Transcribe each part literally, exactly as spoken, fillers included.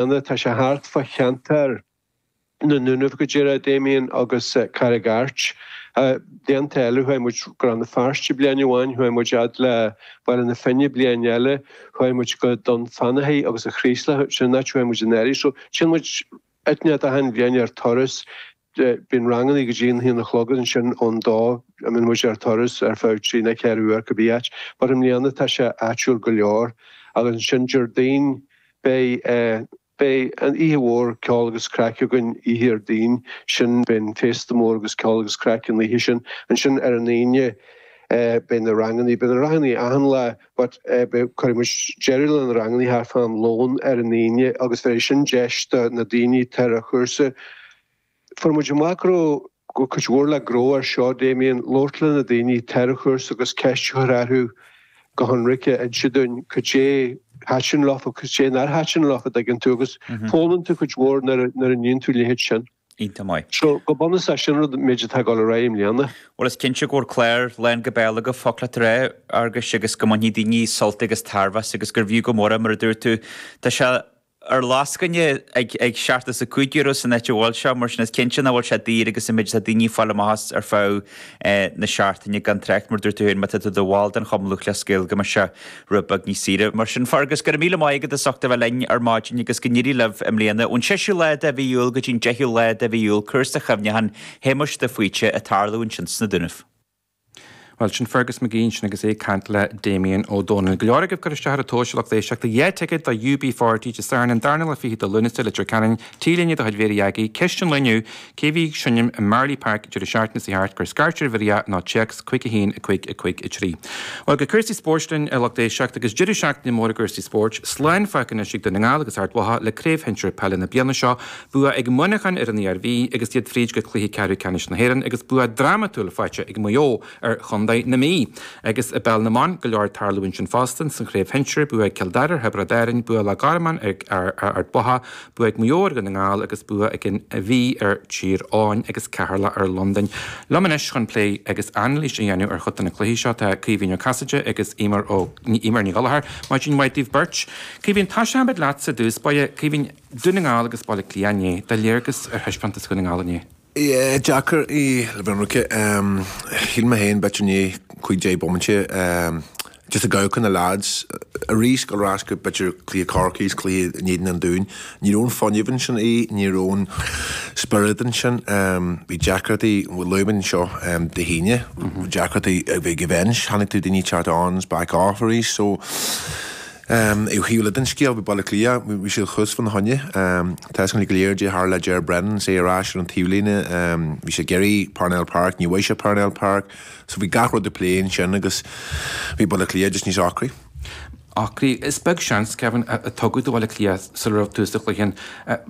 Tá sé thart fá cheantar na nDúnaibh go díreach, Damien, agus Carraig Airt. Blianta eile chuaigh muid go Rann na Feirste bliain amháin, chuaigh muid fhad le Baile na Finne bliain eile, chuaigh muid go Dún Fionnachaidh agus an Chraoslach, sin an áit a chuaigh muid anuraidh. So téann muid áit achan bhliain ar turas. Bíonn ranganna go dtí an haon a chlog agus ansin ón dó a mbíonn muid ar turas ar feadh trí nó ceithre uair cibé áit. But i mbliana tá sé áitiúil go leor agus ansin Déardaoin beidh beidh an oíche mhór ceol agus craic againn oíche Dhéardaoin sin beidh an féasta mór agus ceol agus craic an oíche sin. Ansin ar an Aoine beidh na ranganna, beidh na ranganna achan lá but beidh cuirfidh muid deireadh le na ranganna thart fá am lóin ar an Aoine agus bheidh sin deis do na daoine atá ar an chúrsa. Fuair muid amach go raibh go cuid mhór le gnó ar seo, Damien, labhairt le na daoine atá ar an chúrsa agus ceist a chur orthu go hionraice, inse dúinn cad é thaitin leofa, cad é nár thaitin leofa, an dtuigeann tú, agus foghlaimíonn tú cuid mhór nuair a níonn tú a leithéid sin. Iontach maith. So, go bunúsach, sin rud méid atá ag dul ar aghaidh i mbliana. Bhuel, is cinnte go bhfuil clár lán go béal agaibh, focla tar éis Fhearghuis, agus go mbainfidh daoine sult agus tairbhe as agus gurbh fhiú go mór é, mar a dúirt tú. Tá sé ar lascaine ag ag seachtó is a cúig euro san áit a bhfuil sé, mar sin is cinnte nach bhfuil sé daor agus an méid atá daoine ag fáil amach as ar feadh na seachtaine gan trácht, mar a dúirt tú féin, má tá tú i do bhall den Chumann Lúthchleas Gael go mbeidh sé rud beag níos saoire. Mar sin, Fergus, go raibh míle maith agat as ucht a bheith linn ar maidin agus go n-éirí libh i mbliana. Ón seisiú lá de mhí Iúil go dtí an deichiú lá de mhí Iúil, cúrsa chuimhneacháin Shéamuis de Faoite ag tarlú ansin sna Dúnaibh. Bhuel, sin Fergus McGee ansin agus é ag caint le Damien Ó Dónaill. Go leor agaibh ag cur isteach ar an tomhas, a lucht éisteachta. Dhá ticéad do U B forty Dé Sathairn an darna lá fichead de Lúnasa, Leitir Ceanainn, T-léine de chuid Mhéirí Aggie. Ceist an lae inniu, cé bhí ag seinm i Marlay Park deireadh seachtaine seo thart? Cuir scairt ar Mhéirí nó téacs cúig a haon a cúig a cúig a trí. Bhuel, go cúrsaí spóirt linn, a lucht éisteachta, agus deireadh seachtaine mór i gcúrsaí spóirt. Slán fágtha anois ag Dún na nGall agus Ard Mhacha le Craobh Shinsir Peile na bliana seo. Bua ag Muineachán ar an Iarmhí agus iad fríd go cluiche ceathrú ceannais na hÉireann agus bua drámatúil faighte ag Maigh Eo ar Chontae na Mí. Agus i bPeil na mBan, go leor ag tarlú ansin fosta, san Chraobh Shinsir, bua ag Cill Dara ar Thiobraid Árann, bua Loch Garman ar Ard Mhacha, bua ag Maigh Eo ar Dhún na nGall agus bua ag an Mhí ar Tír Eoghain agus Ceatharlach ar Londain. Liom anois chun plé agus anailís a dhéanamh ar chuid de na cluichí seo tá Caoimhín Ó Casaide agus Eimear Ó Eimear Ní Ghallchóir. Maidin mhaith daoibh beirt. Caoimhín, tosóidh muid leatsa i dtús báire. Caoimhín, Dún na nGall agus Baile Átha Cliath inné, do léargas ar thaispeántas Dhún na nGall inné. Yeah, deacair í le bheith ionraice. Shíl mé féin b'fhéidir i ndiaidh cúig deich bomaite just ag amharc ar na lads arís dul ar ais go b'fhéidir cluiche Chorcaí is cluiche in éadan an Dúin. Ní raibh an fuinneamh ansin í, ní raibh an spiorad ansin. Bhí deacrachtaí, luaigh muid anseo Dé hAoine, deacrachtaí a bhí ag an bench, chonaic tú daoine teacht on is back off arís so Ó thaobh eile den scéal, bhí Baile Átha Cliath, bhí siad thuas fána choinne. Tá fhios againn go léir caidé tharla le Ger Brennan is é ar ais ar an taobhlíne. Bhí sé ag iarraidh Parnell Park, ní bhfuair sé Parnell Park. So bhí gach rud á plé ansin agus bhí Baile Átha Cliath just níos ocraí. Ocraí. Is beag seans, Kevin, a tugadh do Bhaile Átha Cliath sula raibh tús an chluiche ann.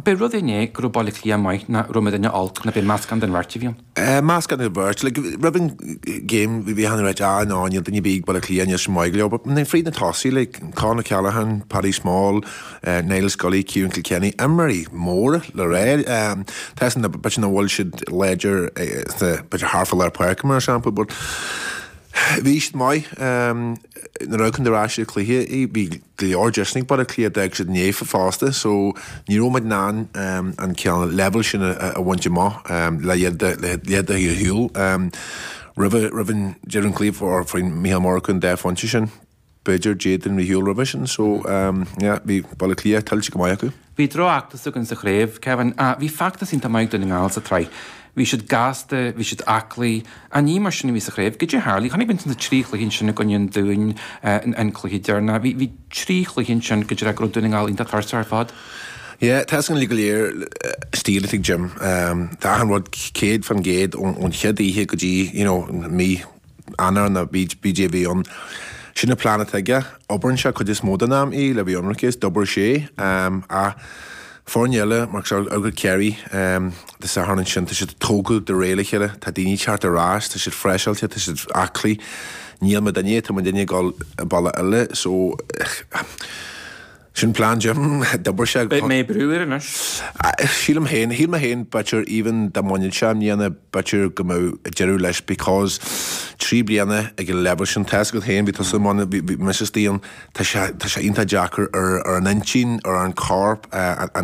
B'é rud é inné go raibh Baile Átha Cliath maith ná raibh muidinne olc nó b'é meascán den bheirt a bhí ann. Meascán den bheirt. Like, roimh an game bhí achan duine ag ráit, ah no, níl duine ar bith ag Baile Átha Cliath, níl siad maith go leor. But fríd na tosaí, like, Con O'Callaghan, Paddy Small, Niall Scully, Ciarán Kilkenny, imreoirí móra le rá. Tá fhios agam b'fhéidir nach bhfuil siad láidir sna, b'fhéidir thart fá lár páirce mar shampla, but bhí siad maith. Nuair a amharcann tú ar ais ar an cluiche, bhí go leor deiseanna ag Baile Átha Cliath, d'fhág siad naofa fosta so ní raibh muid in ann an cineál leibhéal sin a bhaint amach le iad de shiúl roimh roimh an deireadh an chluiche or faoin Mícheál Murchú an dá phointe sin b'fhéidir d'fhéadfainn rith shiúl roimhe sin so yeah bhí Baile Átha Cliath tuillte go maith acu. Bhí drochfheachtas againn sa chraobh, Kevin. Bhí feachtas iontach maith ag Dún na nGall sa tsraith. Bhí siad gasta, bhí siad aclaí. Ach ní mar sin a bhí sa chraobh. Goidé a tharlaigh? Chonaic muid na trí chluiche ansin i gcoinne an Dúin, an cluiche deireanach. Bhí, bhí trí chluiche ansin go dtí go raibh Dún na nGall iontach tuirseach ar fad. Yeah, tá fhios againn go léir stíl atá ag Jim. Tá achan rud céad fan gcéad ón chéad oíche go dtí, you know, mí Eanáir nó B J a bhí ann. Sin an plean atá aige. Oibríonn sé cuid is mó den am í le bheith ionraic is d'oibir sé. Ach foirne eile, mar agus Ciarraí Dé Sathairn ansin, tá siad tógtha de réir le chéile, tá daoine ag teacht ar ais, tá siad freiseáilte, tá siad aclaí. Níl muidinne, tá muidinne ag dul bealach eile. So, Sin plean Jim, d'oibir sé. Beidh mé brú air anois. Sílim féin, shíl mé féin b'fhéidir even dá mbainfeadh sé i mbliana b'fhéidir go mbeadh deireadh leis because trí bliana ag an leibhéal sin, tá's agat féin, bhí tusa i mbun, bhí mise istigh ann, tá sé, tá sé iontach deacair ar, ar an intinn, ar an corp, an